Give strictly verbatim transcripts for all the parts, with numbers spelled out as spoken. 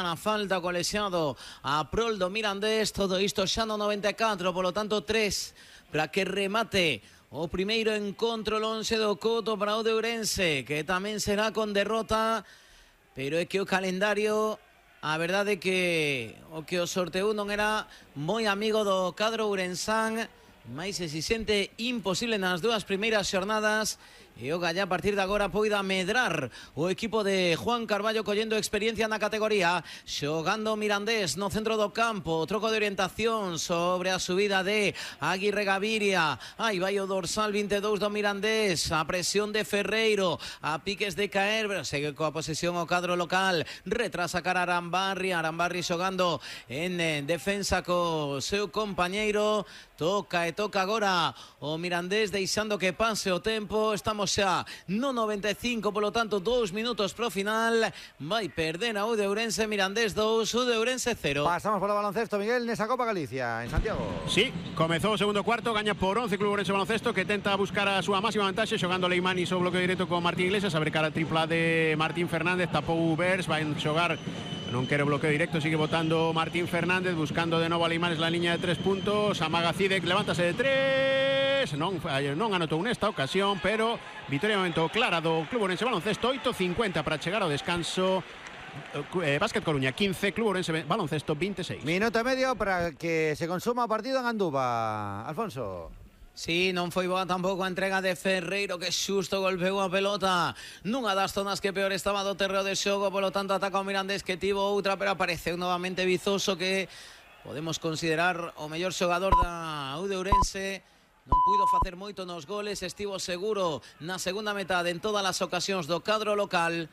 na falta co lesionado a prol do Mirandés. Todo isto xa no noventa e catro, polo tanto tres para que remate o primeiro encontro lonxe do Couto para o de Ourense, que tamén será con derrota, pero é que o calendario, a verdade é que o que o sorteou non era moi amigo do cadro ourensán, mais se se sente imposible nas dúas primeiras xornadas, e o Gallá a partir de agora poida medrar o equipo de Juan Carballo collendo experiencia na categoría, xogando Mirandés no centro do campo, troco de orientación sobre a subida de Aguirre Gaviria. Aí vai o dorsal vinte e dous do Mirandés, a presión de Ferreiro, a piques de caer, pero segue coa posesión o cadro local, retrasa cara a Arambarri, Arambarri xogando en, en defensa co seu compañeiro, toca e toca agora o Mirandés deixando que pase o tempo. Estamos xa no noventa e cinco, polo tanto dous minutos pro final. Vai perder a U de Ourense, Mirandés dous, U de Ourense cero. Pasamos polo baloncesto, Miguel, nesa Copa Galicia en Santiago. Sí, comezou o segundo cuarto, gaña por once Club Ourense Baloncesto, que tenta buscar a súa máxima vantaxe xogando Leimani so bloqueo directo con Martín Iglesias, abre cara a tripla de Martín Fernández, tapou Ubers, vai xogar, non quere bloqueo directo, sigue votando Martín Fernández, buscando de novo a Leimanes la línea de tres puntos, amaga Cidek, levántase de tres, non, non anotou nesta ocasión, pero vitoria momento clara do Club Ourense Baloncesto, oito cincuenta para chegar ao descanso. eh, Básquet Coruña quince, Club Ourense Baloncesto veintiséis. Minuto e medio para que se consuma o partido en Anduva, Alfonso. Sí, non foi boa tampouco a entrega de Ferreiro, que xusto golpeou a pelota nunha das zonas que peor estaba do terreo de xogo, polo tanto ataca o Mirandés, que tivo outra, pero apareceu novamente Vizoso, que podemos considerar o mellor xogador da U de Ourense. Non puido facer moito nos goles, estivo seguro na segunda metade en todas as ocasións do cadro local.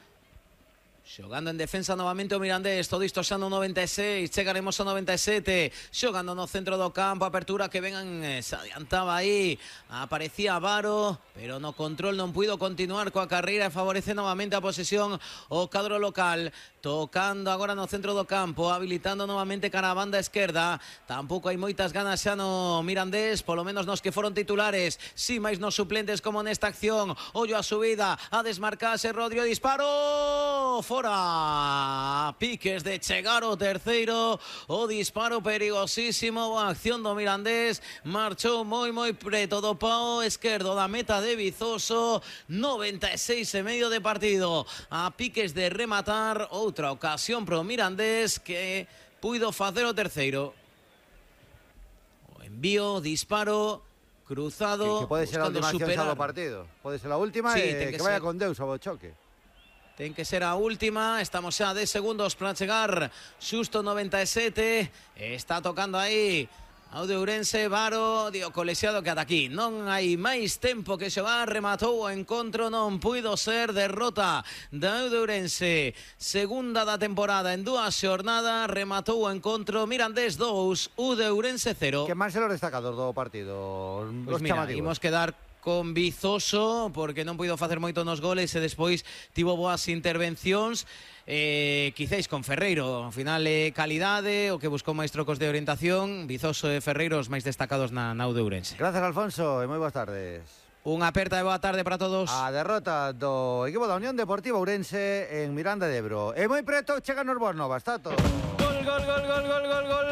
Xogando en defensa novamente o Mirandés, todo isto xa no noventa e seis, chegaremos ao noventa e sete, xogando no centro do campo, apertura que vengan, eh, se adiantaba aí, aparecía Varo, pero no control non puido continuar coa carreira e favorece novamente a posesión o cadro local, tocando agora no centro do campo, habilitando novamente cara a banda esquerda. Tampouco hai moitas ganas xa no Mirandés, polo menos nos que foron titulares, si máis nos suplentes como nesta acción. Ollo a subida, a desmarcarse Rodrigo, disparo fora, piques de chegar o terceiro, o disparo perigosísimo, a acción do Mirandés, marchou moi moi preto do pao esquerdo da meta de Vizoso. Noventa e seis e medio de partido, a piques de rematar. Outra ocasión pro Mirandés, que puido facer o terceiro. O envío, disparo cruzado, que, que pode ser a última acción xa do partido, pode ser a última, sí, e que, que vaya con Deus ao choque. Ten que ser a última, estamos xa dez segundos para chegar xusto noventa e sete, está tocando aí ao de Ourense, Varo, dio colexiado que ata aquí non hai máis tempo que xogar, rematou o encontro, non puido ser, derrota da U de Ourense, segunda da temporada en dúas xornadas, rematou o encontro, Mirandés dous, U de Ourense cero. Que máis se los destacados do partido? Pois pues mira, imos quedar con Vizoso, porque non puido facer moito nos goles e despois tivo boas intervencións. Eh, quizáis con Ferreiro, ao final é eh, calidade, o que buscou máis trocos de orientación. Vizoso e Ferreiro os máis destacados na, na U de Ourense. Gracias, Alfonso, e moi boas tardes. Unha aperta e boa tarde para todos. A derrota do equipo da Unión Deportiva Ourense en Miranda de Ebro. E moi preto chegan os Boas Novas, está todo. Gol, gol, gol, gol, gol, gol, gol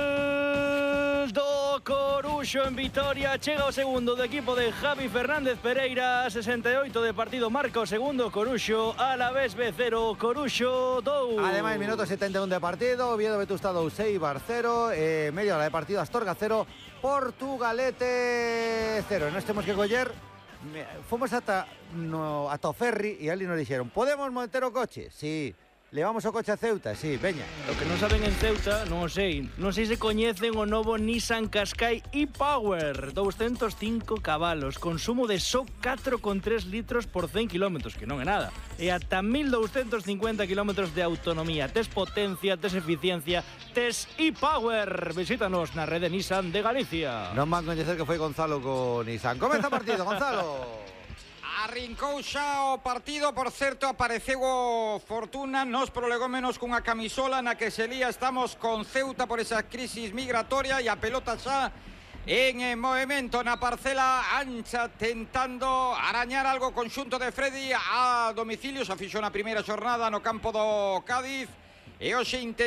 do Coruxo en Vitoria. Chega o segundo do equipo de Javi Fernández Pereira. sesenta e oito de partido, marca o segundo Coruxo. A la vez B cero, Coruxo dous. Ademais, minuto setenta e un de partido, Oviedo Vetusta dous, Eibar cero, eh, media hora de partido, Astorga cero, Portugalete cero. Nos temos que coller, fomos ata, no, ata o ferry e ali nos dixeron, podemos monter o coche? Sí. Levamos o coche a Ceuta, sí, veña. O que non saben en Ceuta, non o sei. Non sei se coñecen o novo Nissan Qashqai e-Power. doscientos cinco cabalos, consumo de só catro coma tres litros por cen kilómetros, que non é nada. E ata mil doscientos cincuenta kilómetros de autonomía. Tes potencia, tes eficiencia, tes e-Power. Visítanos na rede Nissan de Galicia. Non van coñecer que foi Gonzalo con Nissan. Comeza o partido, Gonzalo. Arrincou xa o partido, por certo, apareceu o Fortuna nos prolegómenos cunha camisola na que se lía estamos con Ceuta por esa crisis migratoria, e a pelota xa en movimento na parcela ancha, tentando arañar algo conxunto de Freddy a domicilio. Xa fixo na primeira xornada no campo do Cádiz e hoxe intenta